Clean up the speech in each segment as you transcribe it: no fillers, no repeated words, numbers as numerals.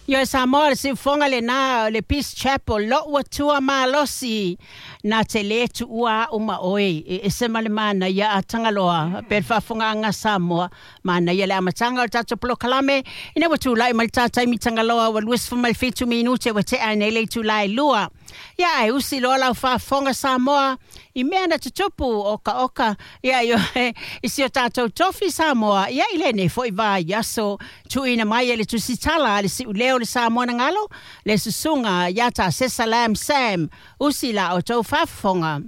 Ioe Samoa le siufoga lenā o le Peace Chapel lo'u atua malosi na te lē tuua a'u ma oe e ese ma le manaia a Tagaloa pe le faafogaaga Samoa manaia le amataga o le tatou polokalame ina ua tula'i mai le tataimi Tagaloa ua 27 minute ua te'a nei le itulā e 2. Ia ae usi loa lau faafofoga Samoa i mea na tutupu okaoka ia ioe i si o tatou tofi Samoa ia i lenei fo'i vaiaso tuuina mai e le tusitala a le si'uleo le Samoa na galo le susuga iā Tasesa Lam Sam usi la outou faafofoga.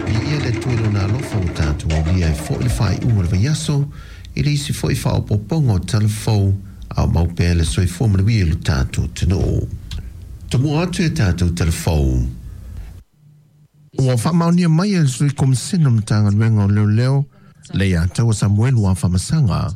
Viia le Atua i Lona alofa ua tatou aulia ai foi le faaiuga o le vaiaso i le isi foi faaopoopoga o tala fou a o mau pea le soifua manuia i lo tatou atunuu. Tomua atu i a tatou tala fou. Ua faamaonia mai e le Sui Komisena o le Matagaluega o Leoleo le iātaua Samuelu Afamasaga,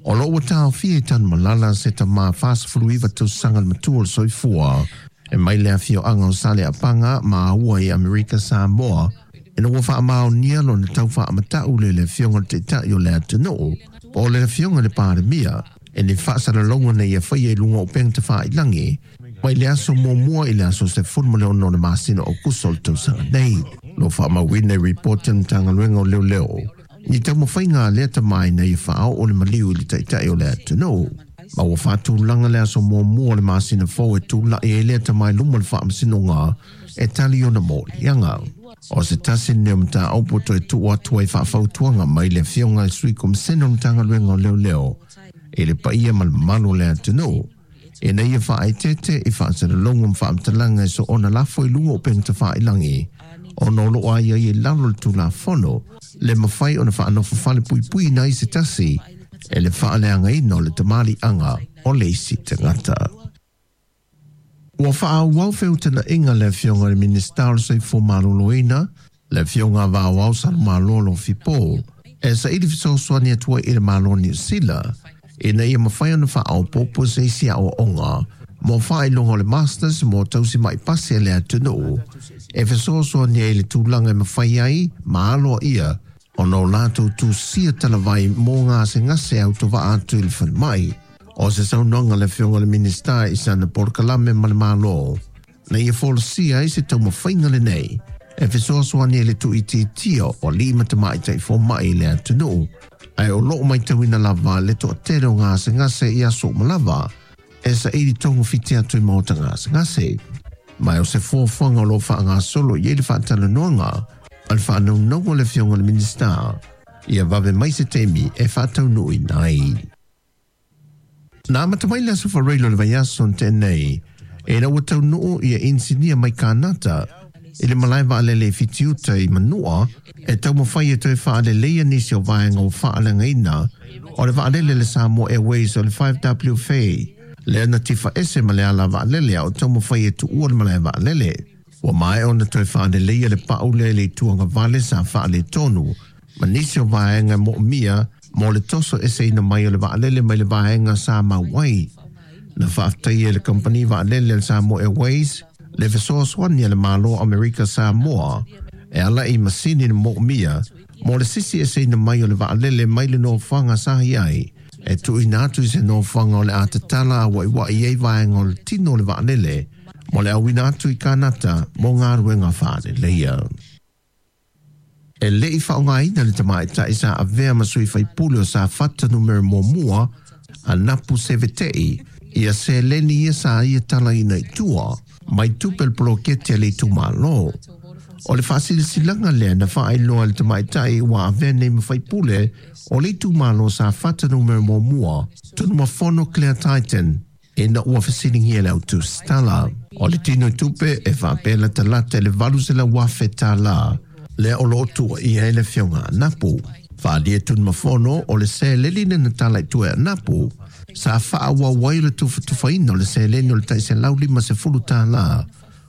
o lo o ua taofia i Tanumalala se tama 49 tausaga le matua o le soifua e mai le afioaga o Saleapaga ma ua i Amerika Samoa ina ua faamaonia lona tau faamata'u le le afioga i le Taitai o le atunuu po o le afioga i le Palemia e ni faasalalauga na ia faia i luga o upega tafailagi mai le aso 1 i le aso 16 o le masina o Aokuso o le tausaga nei. Lo faamauina i ripoti a le Matagaluega o Leoleo ni taumafaiga a lea tama ina ia faaoo le maliu i le Taitai o le atunuu. Ma ua faatulaga le aso 1 o le masina fou e tula'i ai lea tama i luma o le faamasinoga e tali ona moliaga. O se tasi lenei o mataupu toe tuu atu ai faafautuaga mai le afioga i le Sui Komisena o le Matagaluega o Leoleo i le paia ma le mamalu o le atunuu ina ia faaeteete i faasalalauga ma faamatalaga e soona lafo i luga o upega tafailagi ona o loo aiaia i lalo o le Tulafono le mafai ona faanofofale puipuiina ai se tasi e le faaleagaina o le tamaliiaga o le isi tagata. Ua faaauau feutanaʻiga le afioga i le Minisita o le Soifua Maloloina, le afioga Vaoao Salomalo Lofipo, e saili fesoasoani atu ai i le Malo o Niu Sila ina ia mafai ona faaopoopo se isi aoaoga mo faailoga o le Masters mo tausimaʻi pasi a le atunuu e fesoasoani ai i le tulaga e mafai ai ma aloaia ona o latou tusia talavai mo gasegase autovaa atu i le falemai. O se saunoaga le afioga i le Minisita i sana polokalame ma le Malo na ia folasia ai se taumafaiga lenei e fesoasoani ai i le tuuitiitia o alii ma tamaitai fomaʻi i le atunuu ae o loo matauina lava le toatele o gasegase i aso uma lava e saili togafiti atu i maota gasegase. Ma o se fuafuaga o loo faagasolo i ai le faatalanoaga a le faanaunauga o le afioga i le Minisita ia vave mai se taimi e faataunuuina ai. Na amata mai le aso Faraile o le vaiaso na tea nei ina ua taunuu ia inisinia mai Kanata i le malae vaalele i Fitiuta i Manua e taumafai e toe faaleleia nisi o vaega ua faaleagaina o le vaalele le Samoa Airways o le 5WFA lea na tifaese ma le ala vaalele a o taumafai e tuua le malae vaalele. Ua maea ona toe faaleleia le pau lea i le itu agavale sa faaletonu ma nisi o vaega e moomia mo le toso eseina mai o le vaalele mai le vaega sa mau ai. Na faafetaia e le kamupani vaalele a le Samoa Airways le fesoasoani a le Malo o Amerika Samoa e ala i masini na moomia mo le sisi eseina mai o le vaalele mai le nofoaga sa i ai e tuuina atu i se nofoaga o le a tatala auaiuaʻi ai vaega o le tino o le vaalele mo le auina atu i Kanata mo galuega faaleleia. E leʻi faaaogaina le tamaitai sa avea ma sui faipule o Safata numera 1 a Napu Seveteʻi ia seleni ia sa ia talaina i tua mai tupe o le poloketi a le itumalo. O le faasilasilaga lea na faailoa e le tamaitai ua avea nei ma faipule o le itumalo Safata numera 1 Tunumafono Claire Titan ina ua fesiligia le autusitala. O le tino i tupe e faapea latalata i le $800,000 tālā lea o loo tuuaia ai le afioga a Napu. Faaalia Tunumafono o le seleni na tala i tua e Napu sa faaauau ai le tufatufaina o le seleni o le tai $150 tālā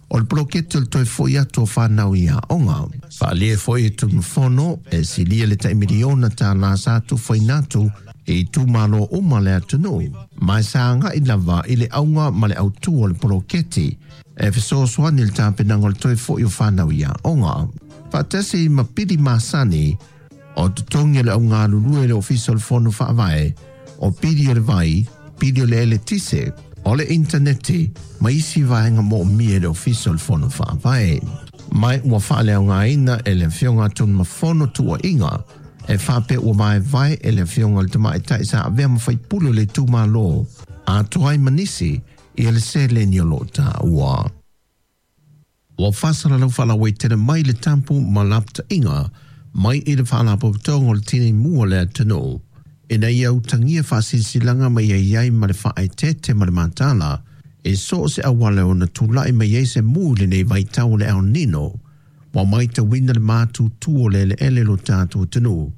o le poloketi o le toe foʻi atu o fanau i aoga. Faaalia foi e Tunumafono e silia le tai $1 miliona tālā sa tufaina atu i itumalo uma le atunuu ma e sa agaʻi lava i le auga ma le autū o le poloketi. E fesoasoani i le tapenaga o le toe fo'i o fanau i aoga. Faatasi ma pili masani o totogi o le augalulue i le Ofisa o le Fono Faavae, o pili o le vai, pili o le eletise, o le initaneti ma isi vaega moomia e le Ofisa o le Fono Faavae. Ma ua faaleaogaina e le Afioga Tunumafono tuuaiga e faapea ua vaevae e le Afioga i le Tamaitai sa avea ma faipule o le itumalo atoa ai ma nisi ia le seleni o lo o taua. Ua faasalalau faalauaitele mai le tapu ma lapataiga mai i le Faalapotopotoga o le Tinei Mu o le atunuu ina ia utagia faasilasilaga ma ia i ai ma le faaeteete ma le mataala i so o se auala e ono tulai mai ai se mu i lenei vaitau o le El Nino. Ua matauina le matutu o le eleele o lo tatou atunuu,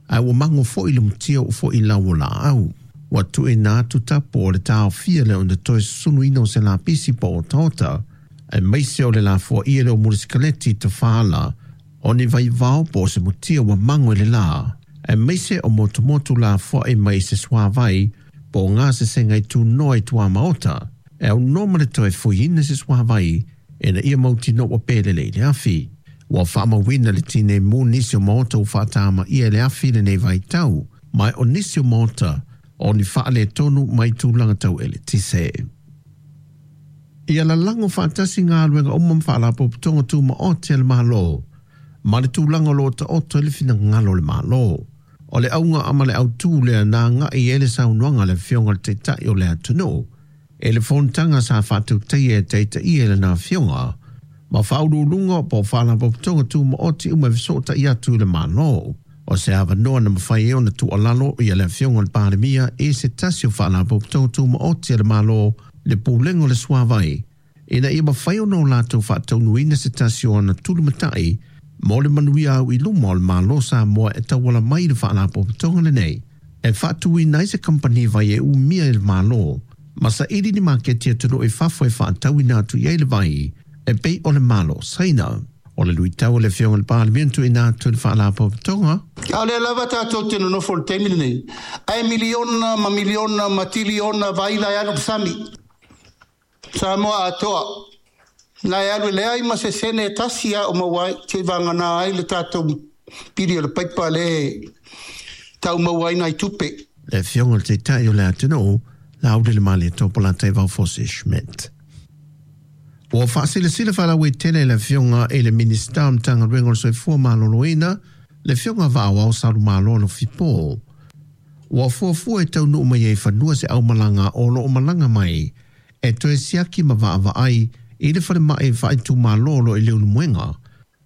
ae ua mago foi le mutia ua foi lau o laau. Ua tuuina atu tapu o le taofia lea ona toe susunuina o se lapisi po o otaota, aemaise o le lafoaia lea o mulisikaleti tafaala o ni vaivao po o se mutia ua mago i le la, aemaise o motumotu lafoai mai i se suavai po o gasesega i tunoa i tuamaota, e aunoa ma le toe fuiina se suavai ina ia mautinoa ua pelele i le afi. Ua faamauina le tinei mu nisi o maota ua faatamaia e le afi i lenei vaitau, ma o nisi o maota o ni faaletonu mai tulaga tau eletise. Ia lalago faatasi galuega uma ma faalapotopotoga tumaoti a le Malo ma le tulaga o lo o taoto ai le finagalo o le Malo. O le auga ma le autū lea na agai i ai le saunoaga a le Afioga i le Taitai o le atunuu i le fonotaga sa faatautaia e taitaia i lana Afioga ma faauluuluga po o faalapotopotoga tumaoti uma e fesootai atu i le Malo. O se avanoa na mafai ai ona tuualalo ia le Afioga i le Palemia i se tasi o Faalapotopotoga Tumaoti a le Malo, le Pulega o le Suavai, ina ia mafai ona o latou faataunuuina se tasi o ana tulumatai mo le manuia au i luma o le Malo o Samoa e tauala mai i le Faalapotopotoga lenei e faatuina ai se kamupani vai e umia e le Malo ma saili ni maketi atunuu i fafo e faatauina atu i ai le vai e pei o le Malo o Saina. O le luitau o le Afioga i le Palemia na tuuina atu i le Faalapotopotoga. A o lea lava tatou te nonofo i le taimi lenei, ae miliona ma miliona ma tiliona vaila e alu i le sami. Samoa atoa, na e alu e leai ma se sene e tasi a o maua ai, seivagana ai le tatou pili o le paipa lea e tau maua ai nai tupe. Le Afioga i le Taitai o le atunuu, Laaulialemalietoa Polataivao Fosi Schmidt. Ua faasilasila faalauaitele e le Afioga i le Minisita o Matagaluega o le Soifua Maloloina, le Afioga Vaaoao Salumalo Alofi Paul. Ua fuafua e taunuu mai ai i fanua se aumalaga o lo o malaga mai e toe siaki ma vaavaai i le falemai faaitumalo o lo o i Leulumoega,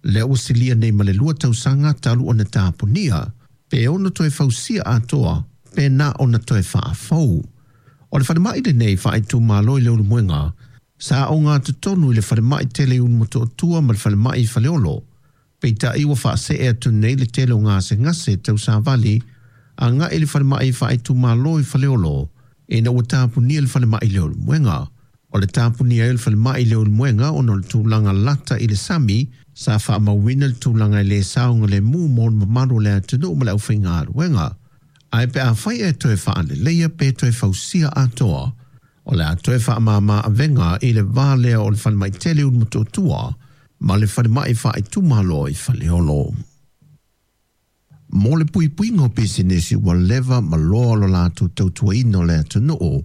lea ua silia nei ma le 2 tausaga talu ona tapunia, pe ono toe fausia atoa pe na ona toe faafou. O le falemai lenei faaitumalo i Leulumoega, sa ogatotonu i le falemai tele i Ulumotootua ma le falemai i Faleolo, peitai ua faasee atu nei le tele o gasegase tau savali agai i le falemai faaitumalo i Faleolo ina ua tapunia le falemai i Leulumoega. O le tapunia ai o le falemai i Leulumoega ona o le tulaga lata i le sami sa faamauina le tulaga e le saogalemu mo le mamalu o le atunuu ma le aufaigaluega. Ae pe afai e toe faaleleia pe toe fausia atoa, o le a toe faamama avega i le va lea o le falemai tele i Ulumotootua ma le falemai faaitumalo i Faleolo. Mo le puipuiga o pisinisi ua leva ma loa lo latou tautuaina o le atunuu,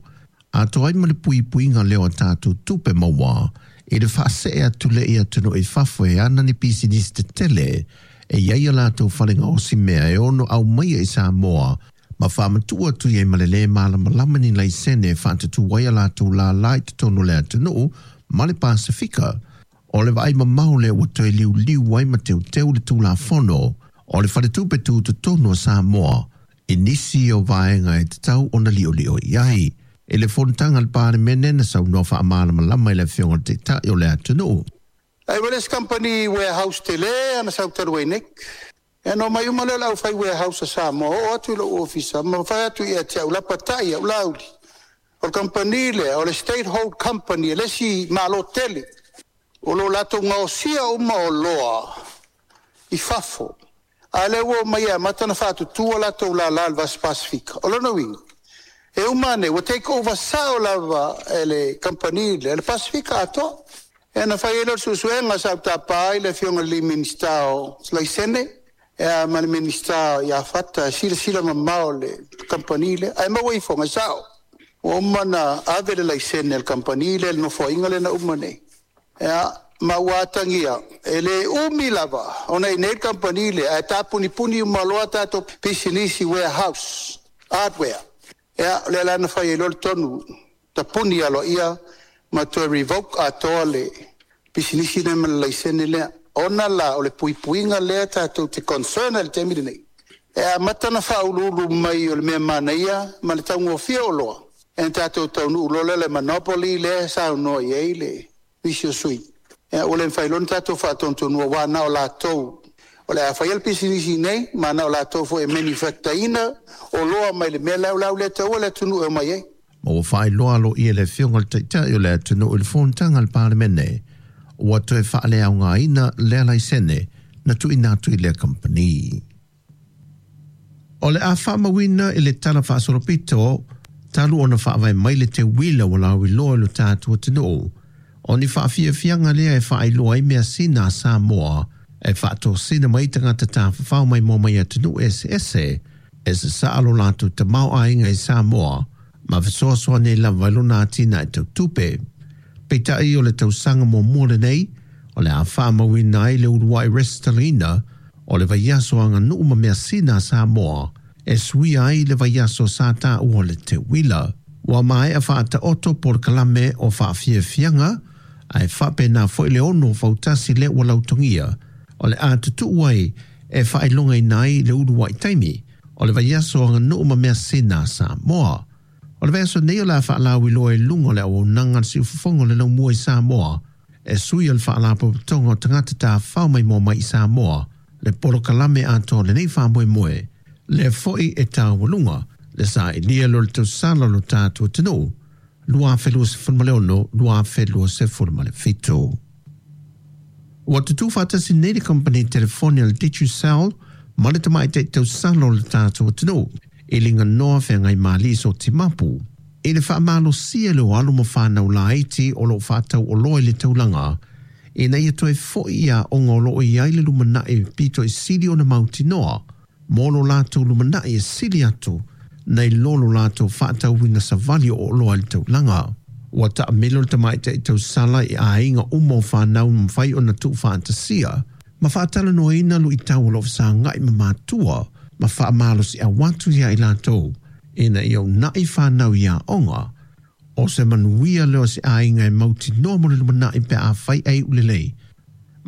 atoa ai ma le puipuiga lea o a tatou tupe maua i le faasee atu lea i atunuu i fafo e ana ni pisinisi tetele e i ai a latou fale gaosi mea e ono aumaia i Samoa ma faamatuu atu i ai ma le lē malamalama ni laisene e faatatū ai a latou lālā i totonu o le atunuu ma le Pasefika. O le vaai mamao lea ua toe liuliu ai ma teuteu le Tulafono o le Faletupe Tutotonu o Samoa i nisi o vaega e tatau ona liolio i ai. I le fonotaga a le Palemene na saunoa faamalamalama i le Afioga i le Taitai o le atunuu. Ai ua le isi kamupani warehouse tele ana sau talu ai nei. Ia ona omai uma lea o le aufai warehouse a Samoa, oo atu i lou ofisa ma fai atu ia te au, lapatai au, Laauli, o le kamupani lea o le State Hold Company, e le isi malo tele o lo o latou gaosia uma oloa i fafo, a lea ua omai e amata ona faatutu a latou lala i le Vasi Pasefika. O lona uiga, e uma ane ua take over sao lava e le kamupani lea le Pasefika atoa. E na fai ai lea o le suesuega sa ou tapa ai le Afioga i le Minisita o Laisene ma le Minisita ia Fata e silasila mamao i le kamupani lea, ae maua ifoga e sao. Ua uma ona ave le laisene a le kamupani lea i le nofoaiga lea na uma nei. Ia, ma ua atagia, e le umi lava ona i inei le kamupani lea, ae tapunipuni uma loa tatou pisinisi warehouse, hardware. Ia, o lea la na fai ai loa le tonu, tapuni aloaia ma toe revoke atoa le pisinisi lea ma le laisene lea. Ona la o le puipuiga lea tatou te concern ai i le taimi lenei, e amata ona faauluulu mai o le mea manaia ma le taugofie o oloa, e na tatou taunuu loa lea i le monopoly lea e saunoa i ai le nisi o sui usufono, ia ua le mafai loa ona tatou faatonutonuina aua na o latou o le a faia le pisinisi nei, ma na o latou foi e manufacture ina oloa mai le mea la o le a le taua le atunuu e omai ai. Ma ua faailoa aloaia e le Afioga i le Taitai o le atunuu i le Fonotaga a le Palemene, ua toe faaleaogaina lea laisene na tuuina atu i lea kamupani. O le a faamauina i le Tala Faasolopito talu ona faavae mai le teuila ua lauiloa i lo tatou atunuu, o ni faafiafiaga lea e faailoa ai measina a Samoa e faatosina mai tagata tafafao maimoa mai atunuu eseese e sasaa lo latou tamaoaiga i Samoa ma fesoasoani ai lava i lona atinae tau tupe. Peitai o le tausaga muamua lenei o le a faamauina ai le uluai resitalaina o le vaiaso aganuu ma measina a Samoa e suia ai le vaiaso sa taua o le teuila. Ua maea faataoto polokalame o faafiafiaga ae faapena foi le ono fautasi lea ua lautogia o le a tutuu ai e faailogaina ai le uluai taimi o le vaiaso aganuu ma measina a Samoa. O le vaiaso nei o le a faalauiloa i luga o le auaunaga a le Siufofoga o le Laumua i Samoa e sui o le Faalapotopotoga o Tagata Tafafao Maimoa Mai i Samoa le polokalame atoa o lenei faamoemoe, lea foi e taualuga le sailia lea o le tausala o lo tatou atunuu 2026-2027. Ua tutū faatasi nei le kamupani telefoni a le Digicel ma le tamaitai tausala o le tatou atunuu i Liganoa Feagaimalii Sotimapu i le faamalosia lea o alo ma fanau laiti o lo o faatau oloa i le taulaga ina ia toe foi i aoga o lo o i ai le lumanai pito i sili ona mautinoa mo lo latou lumanai e sili atu nai lo lo latou faatauina savali o oloa i le taulaga. Ua taamilo le tamaitai tausala i aiga uma o fanau na mafai ona tuufaatasia ma faatalanoaina luitau o lo o fesagai ma matua ma faamalosiau atu ia i latou ina ia uunai fanau i aoga. O se manuia lea o se aiga e mautinoa mo le lumanai pe afai e iu lelei.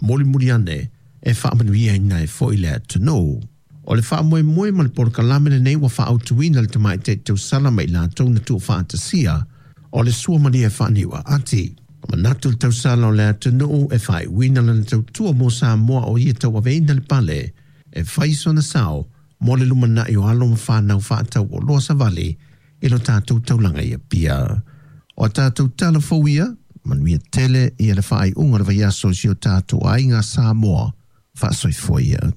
Mulimuli ane e faamanuiaina ai foi le atunuu. O le faamoemoe ma le polokalame lenei ua faaautuina le tamaitai tausala ma i latou na tuufaatasia o le suamalie e faaniu'a ati. Manatu le tausala o le atunuu e faaiuina lana tautua mo Samoa o ia tauaveina le pale e fai sona sao mo le lumanai o alo ma fanau faatau oloa savali i lo tatou taulaga i Apia. O a tatou tala fou ia, manuia tele ia le faaiuga o le vaiaso i si o tatou aiga Samoa. Faasoifua ia.